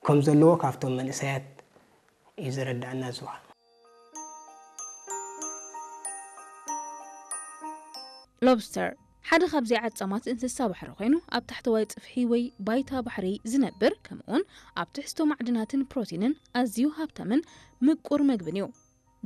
ከም ዘለዎ ካብቶም መንእሰያት እዩ ዝረዳእና። ዝዋ ሎብስተር ሓደ ካብ ዘይዓጻማት እንስሳ ባሕሪ ኮይኑ፣ ኣብ ታሕተዋይ ጽፍሒ ወይ ባይታ ባሕሪ ዝነብር፣ ከምኡውን ኣብ ትሕዝቶ ማዕድናትን ፕሮቲንን ኣዝዩ ሃብታምን ምቁር መግብን እዩ።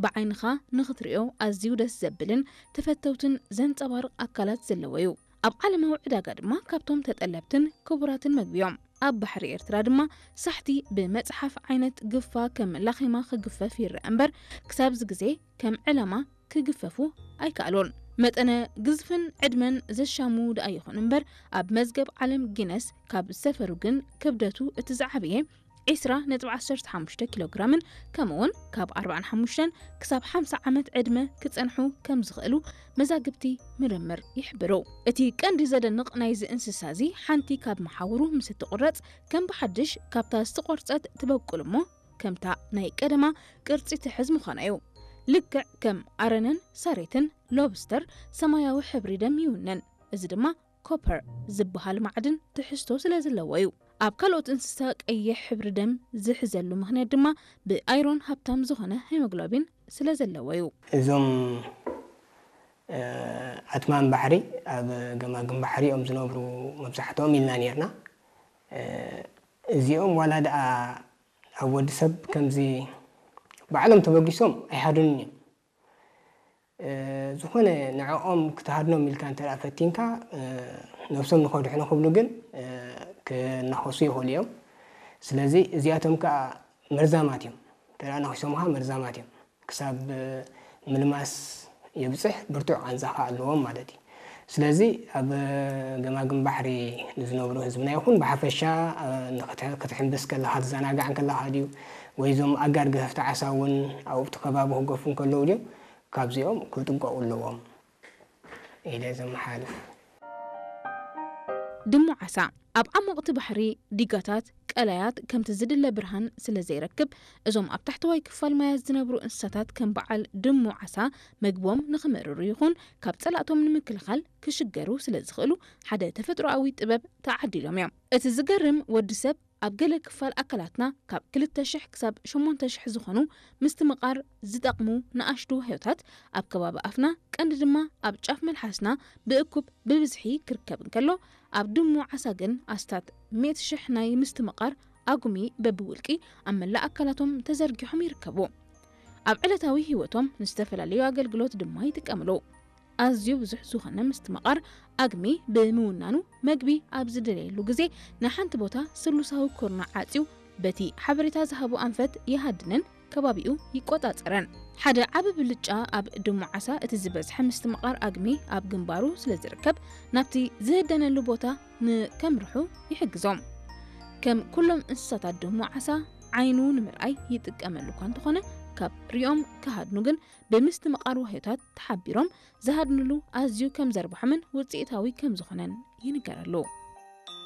ብዓይንኻ ንኽትሪኦ ኣዝዩ ደስ ዘብልን ተፈተውትን ዘንጸባርቕ ኣካላት ዘለዎ እዩ። ኣብ ዓለማዊ ዕዳጋ ድማ ካብቶም ተጠለብትን ክቡራትን መግቢ እዮም። ኣብ ባሕሪ ኤርትራ ድማ ሳሕቲ ብመጽሓፍ ዓይነት ግፋ ከም ላኼማ ክግፈፍ ይረአ እምበር፣ ክሳብዚ ግዜ ከም ዕላማ ክግፈፉ ኣይከኣሉን። መጠነ ግዝፍን ዕድመን ዘሻሙ ደኣ ይኹን እምበር፣ ኣብ መዝገብ ዓለም ጊነስ ካብ ዝሰፈሩ ግን ክብደቱ እቲ ዝዓበየ ዒስራ ነጥቢ ዓሰርተ ሓሙሽተ ኪሎ ግራምን ከምኡውን ካብ ኣርባዓን ሓሙሽተን ክሳብ ሓምሳ ዓመት ዕድመ ክጸንሑ ከም ዝኽእሉ መዛግብቲ ምርምር ይሕብሩ። እቲ ቀንዲ ዘደንቕ ናይዚ እንስሳ እዚ፣ ሓንቲ ካብ መሓውሩ ምስ እትቑረጽ፣ ከም ብሓድሽ ካብታ ዝተቖርጸት ትበቁል እሞ፣ ከምታ ናይ ቀደማ ቅርጺ ትሕዝ ምዃና እዩ። ልክዕ ከም ኣረነን ሳሬትን፣ ሎብስተር ሰማያዊ ሕብሪ ደም ይውንን። እዚ ድማ ኮፐር ዝበሃል ማዕድን ትሕዝቶ ስለ ዘለዎ እዩ። ኣብ ካልኦት እንስሳ ቀይሕ ሕብሪ ደም ዝሕዘሉ ምኽንያት ድማ ብኣይሮን ሃብታም ዝኾነ ሄሞግሎቢን ስለ ዘለዎ እዩ። እዞም ኣትማን ባሕሪ ኣብ ገማግም ባሕሪ እዮም ዝነብሩ መብዛሕትኦም ኢልና ነርና። እዚኦም ዋላ ደኣ ኣብ ወዲ ሰብ ከምዚ ባዕሎም ተበጊሶም ኣይሃድኑን እዮም። ዝኾነ ንዕኦም ክትሃድኖም ኢልካ እንተ ፈቲንካ፣ ነብሶም ንኸድሕኑ ክብሉ ግን ክናኸሱ ይኽእሉ እዮም። ስለዚ እዚኣቶም ከዓ መርዛማት እዮም። እንተ ነኺሶምካ መርዛማት እዮም። ክሳብ ምልማስ የብፅሕ ብርቱዕ ቃንዛ ከዓ ኣለዎም ማለት እዩ። ስለዚ ኣብ ገማግም ባሕሪ ንዝነብሩ ህዝብና ይኹን ብሓፈሻ ክትሕምብስ ከለካ ትዘናጋዕ ከለካ ድዩ ወይ እዞም ኣጋር ገፈፍቲ ዓሳ እውን ኣብቲ ከባቢ ክገፉ ከለዉ ድዮም ካብዚኦም ክጥንቀቑ ኣለዎም ኢለ ዘመሓላልፍ። ድሙ ዓሳ ኣብ ዓሞቕቲ ባሕሪ፣ ዲጋታት፣ ቀላያት ከምቲ ዝድለ ብርሃን ስለ ዘይረክብ፣ እዞም ኣብ ታሕተዋይ ክፋል ማያት ዝነብሩ እንስሳታት ከም በዓል ድሙ ዓሳ መግቦም ንኽምእርሩ ይኹን ካብ ጸላእቶም ንምክልኻል ክሽገሩ ስለ ዝኽእሉ ሓደ ተፈጥሮኣዊ ጥበብ ተዓዲሎም እዮም። እቲ ዝገርም ወዲ ሰብ ኣብ ገለ ክፋል ኣካላትና ካብ ክልተ ሽሕ ክሳብ ሸሞንተ ሽሕ ዝኾኑ ምስትምቓር ዝጠቕሙ ንኣሽቱ ዋህዮታት ኣብ ከባቢ ኣፍና ቀንዲ ድማ ኣብ ጫፍ መልሓስና ብእኩብ ብብዝሒ ክርከብ እንከሎ ኣብ ድሙ ዓሳ ግን ኣስታት ሚእቲ ሽሕ ናይ ምስትምቓር ኣጉሚ በብውልቂ ኣብ መላእ ኣካላቶም ተዘርጊሖም ይርከቡ። ኣብ ዕለታዊ ህይወቶም ንዝተፈላለዩ ኣገልግሎት ድማ ይጥቀምሉ። ኣዝዩ ብዙሕ ዝኾነ ምስትምቓር ኣግሚ ብምውናኑ መግቢ ኣብ ዝደለየሉ ግዜ ንሓንቲ ቦታ ስሉሳዊ ኩርናዕ ዓጽዩ በቲ ሓበሬታ ዝሃቦ ኣንፈት ይሃድንን ከባቢኡ ይቆጻጸረን። ሓደ ዓቢ ብልጫ ኣብ ድሙ ዓሳ እቲ ዝበዝሐ ምስትምቓር ኣግሚ ኣብ ግንባሩ ስለ ዝርከብ ናብቲ ዝህደነሉ ቦታ ንከምርሑ ይሕግዞም። ከም ኩሎም እንስሳታት ድሙ ዓሳ ዓይኑ ንምርኣይ ይጥቀመሉ እኳ እንተኾነ ካብ ሪኦም ክሃድኑ ግን ብምስትምቓር ዋህዮታት ተሓቢሮም ዝሃድንሉ ኣዝዩ ከም ዘርብሖምን ውፅኢታዊ ከም ዝኾነን ይንገረሉ።